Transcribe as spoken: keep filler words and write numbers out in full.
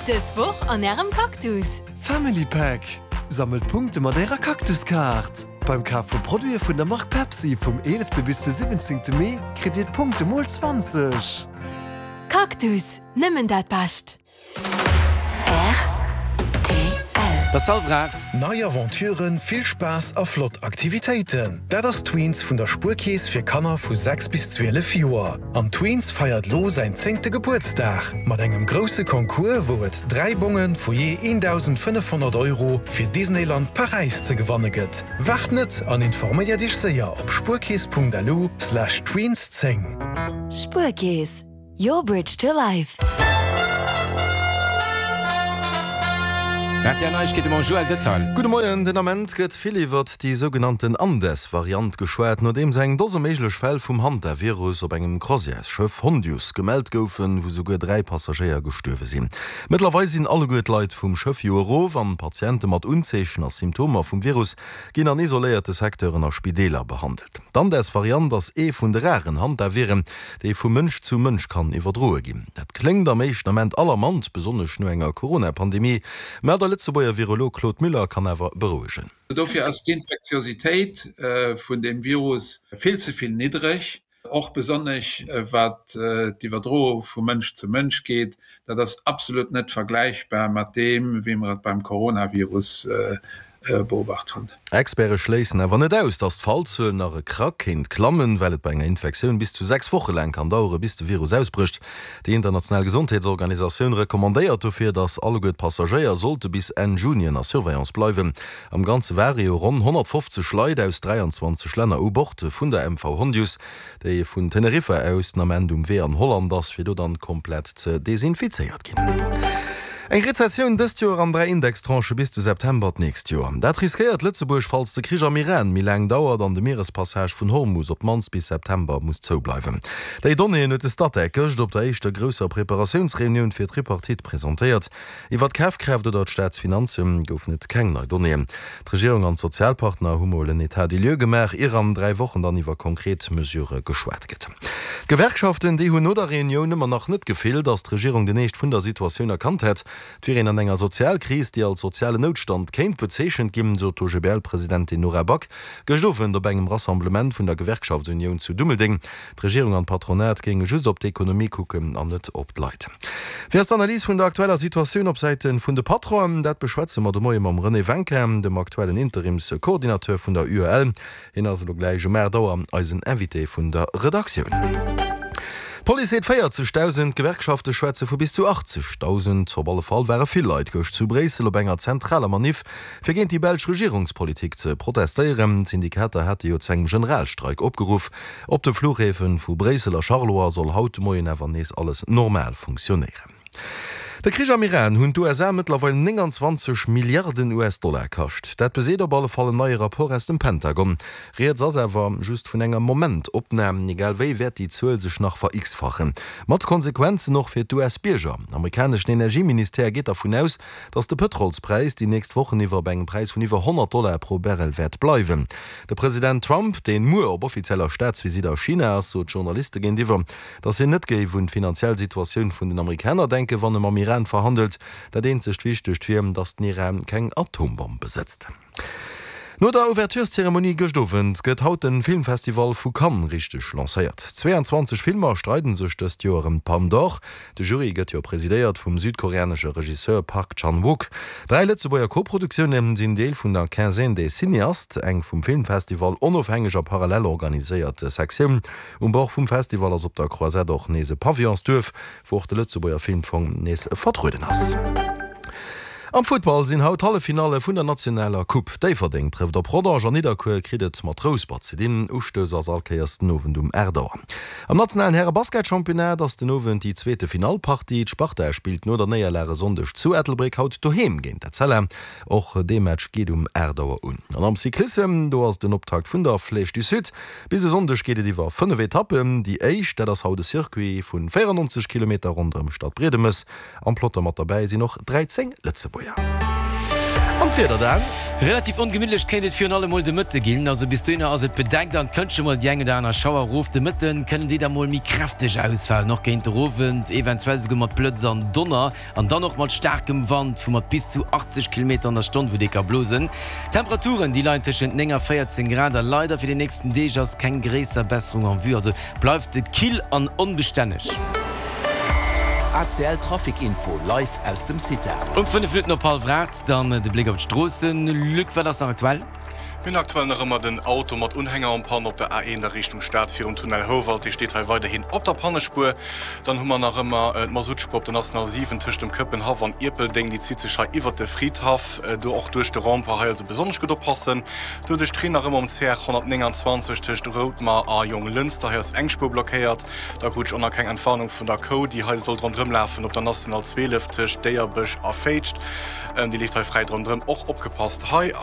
Dës Woch an Ärem Cactus! Family Pack, Sammelt Punkte mat Ärer Cactus-Kaart! Beim Kaf vu Produite vun der Mark Pepsi vum eelefte bis de siwwenzéngte Mee kritt Dir d'Punkte mol zwanzeg! Cactus, nëmmen dat Bescht! Rtl. 't ass hallwer aacht. Nei Aventuren, vill Spaass a flott Aktivitéiten, dat ass Tweens vun der Spuerkeess fir Kanner vu sechs bis zwielef Joer. An Tweens feiert lo säin zéngte Gebuertsdag mat engem grousse Concours, wou et dräi Bonge vu jee eendausendfënnefhonnert Euro fir Disneyland Paräis ze gewanne gëtt. Waart net an informéier Iech séier op spuerkeess punkt lu slash tweens zéng. Spuerkeess, your bridge to life. R T L Neiegkeete mam Joël Detail. Gudde Moien, Den Ament gëtt vill iwwert déi sougenannten Andes-Variant geschwat, nodeems eng Dose méiglech Fäll vum Hantavirus op engem Croisièresschëff Hondius gemellt goufen, wou souguer dräi Passagéier gestuerwe sinn. Mëttlerweil sinn alleguer d'Leit vum Schëff jo erof an d'Patiente mat Unzeechen a Symptomer vum Virus ginn an isoléierte Secteuren a Spideeler behandelt. D'Andes-Variant ass ee vun de raren Hantaviren, déi vu Mënsch zu Mënsch kann iwwerdroe ginn. Dat kléngt am éischten Ament alarmant, besonnesch no enger Corona-Pandemie. Mä de Lëtzebuerger Virolog Claude Müller kann awer berouegen. Dofir ass d'Infektiositéit vun deem Virus vill ze vill niddreg, och besonnesch wat d'Iwwerdroung vu Mënsch zu Mënsch geet. Dat ass absolut net vergläichbar mat deem, wéi mer et beim Coronavirus beobacht hunn. Experte schléissen awer net aus, datt d'Fallzuel nach e Krack kéint klammen, well et bei enger Infektioun bis zu sechs Woche laang kann dauere bis de Virus ausbrécht. Déi international Gesondheetsorganisatioun recommandéiert dofir, datt alleguer d'Passagéier sollte bis Enn Juni ënner Surveillance bleiwen. Am Ganze ware jo ronn honnertfofzeg Leit aus dräianzwanzeg Länner u Bord vun der M V Hondius, déi vun Teneriffa aus den Ament um Wee an Holland ass, fir do dann komplett ze desinfizéiert ginn. Eng Rezessioun dëst Joer an dräi Indextranchë bis de September d'nächst Joer. Dat riskéiert Lëtzebuerg, falls de Krich am Iran méi laang dauert an de Mierespassage vun Hormus op d'mannst bis September muss zoubleiwen. Déi Donnéeën huet de Statec gëscht op der éischter grousser Preparatiounsreunioun fir d'Tripartite presentéiert. Iwwer d'Kafkraaft oder d'Staatsfinanze goufen et keng nei Donnéeën. D'Regierung an d'Sozialpartner hu mol en État des lieux gemaach, ier an dräi Wochen dann iwwer konkret Mesurë geschwat gëtt. D'Gewerkschaften, déi hunn no der Reunioun ëmmer nach net d'Gefill, datt d'Regierung den Eescht vun der Situatioun erkannt hätt. Et wier een an enger Sozialkris, déi als sozialen Noutstand kéint bezeechent ginn, sot d'O G B L-Presidentin Nora Back gëscht Owend op engem Rassemblement vun der Gewerkschaftsunioun zu Dummeldeng. D'Regierung an d'Patronat géinge just op d'Ekonomie kucken an net op d'Leit. Wéi ass d'Analys vun der aktueller Situatioun op Säite vun de Patronen? Dat beschwätze mer de Moie mam René Wencker, dem aktuellen Interimscoordinateur vun der U E L. Hien ass elo gläich um aacht Auer eisen Invité vun der Redaktioun. D'Police seet véierzegdausend, d'Gewerkschafte schwätze vu bis zu achtzegdausend. Op alle Fall ware vill Leit gëscht zu Bréissel op enger zentraler Maniff, fir géint déi belsch Regierungspolitik ze protestéieren. D'Syndikater hate jo zu engem Generalstreik opgeruff. Op de Fluchhäfe vu Bréissel a Charleroi soll haut de Moien awer nees alles normal funktionéieren. De Krich am Iran hunn d'U S A mëttlerweil nénganzwanzeg Milliarden U S-Dollar kascht. Dat beseet op alle Fall en neie Rapport aus dem Pentagon. Rieds ass awer just vun enger Momentopnam, egal wéi wäert déi Zuel sech nach ver-x-fachen. Mat Konsequenzen och fir d'U S-Bierger. Amerikaneschen Energieministère geet dervun aus, datt de Pëtrolspräis déi nächst Wochen iwwer op engem Präis vun iwwer honnert Dollar pro Barrel wäert bleiwen. De President Trump, deen muer op offizieller Staatsvisitt a China ass, sot Journaliste géintiwwer, datt hien net géif un d'finanziell Situatioun vun den Amerikaner denken, wann e mam Iran verhandelt. Dat eenzegt Wichtegt wier, datt den Iran keng Atombomm besëtzt. No der Ouvertureszeremonie gëscht Owend gëtt haut de Filmfestival vu Cannes richteg lancéiert. Zweeanzwanzeg Filmer streiden sech dëst Joer ëm d'Palme d'Or. De Jury gëtt jo presidéiert vum südkoreanesche Regisseur Park Chan-wook. Dräi Lëtzebuerger Koproduktioune sinn Deel vun der Quinzaine des Cinéastes, eng vum Filmfestival onofhängeg a parallel organiséiert Sektioun. Um Bord vum Festival ass op der Croisette och nees e Pavillonsduerf, wou och de Lëtzebuerger Filmfong nees vertrueden ass. Am Futtball sinn haut d'Halleffinalle vun der nationaler Coupe. Déifferdeng trëfft op Rodange an Nidderkuer kritt et mat Rouspert ze dinn. Ustouss ass all Kéiers den Owend um aacht Auer. Am nationalen Häre-Basketchampionnat ass den Owend déi zweete Finallpartie. D'Sparta spillt no der Néierlag e Sonndeg zu Ettelbréck haut doheem géint d'Etzella. Och dee Match geet um aacht Auer un. An am Cyclissem, do ass den Optakt vun der Flèche du Sud. Bis e Sonndeg geet et iwwer fënnef Etappen. Déi éischt, dat ass haut e Circuit vun véierannonzeg Kilometer ronderëm Stadbriedemes. Am Peloton mat derbäi sinn och dräizéng Lëtzebuerger. An d'Wieder dann? Relativ ongemittlech kéint et virun allem mol de Mëtte ginn, also bis dohinner ass et bedeckt an et kënnt scho mol déi eng oder aner Schauer erof. De Mëtte kënnen déi da mol méi kräfteg ausfalen, och géint de Owend, eventuell souguer mat Blëtz an Donner an dann och mat staarkem Wand vu mat bis zu achtzeg Kilometer an der Stonn, wou dee ka blosen. D'Temperaturen, déi leien tëschent néng a véierzéng Grad a leider fir déi nächsten Deeg ass keng gréisser Besserung en vue, also bleift et kill an onbestänneg. A C L Trafic Info live aus dem CITA. Um fënnef Minutten op hallwer aacht dann de Bléck op d'Stroossen. Luc, wat ass nach aktuell? Mir hunn aktuell nach ëmmer den Auto mat Unhänger en panne op der A eent a Richtung Stad virum Tunnel Houwald. Dee steet hei weiderhin op der Pannespuer. Dann hu mer nach ëmmer d'Masuttspuer op der National siwen tëscht dem Këppenhaff an Ierpeldeng. Déi zitt sech hei iwwert de Fridhaff, do och duerch de Rond-point. Hei also besonnesch gutt oppassen. Doduerch d'Reen nach ëmmer um C R honnertnénganzwanzeg tëscht Routmer a Jonglënster. Hei ass eng Spuer blockéiert. Da krut ech och nach keng Entwarnung vun der Kou, déi hei sollt ronderëm lafen op der National zwielef tëscht Déierbech a Féitscht. Déi leeft hei fräi ronderëm. Och opgepasst hei.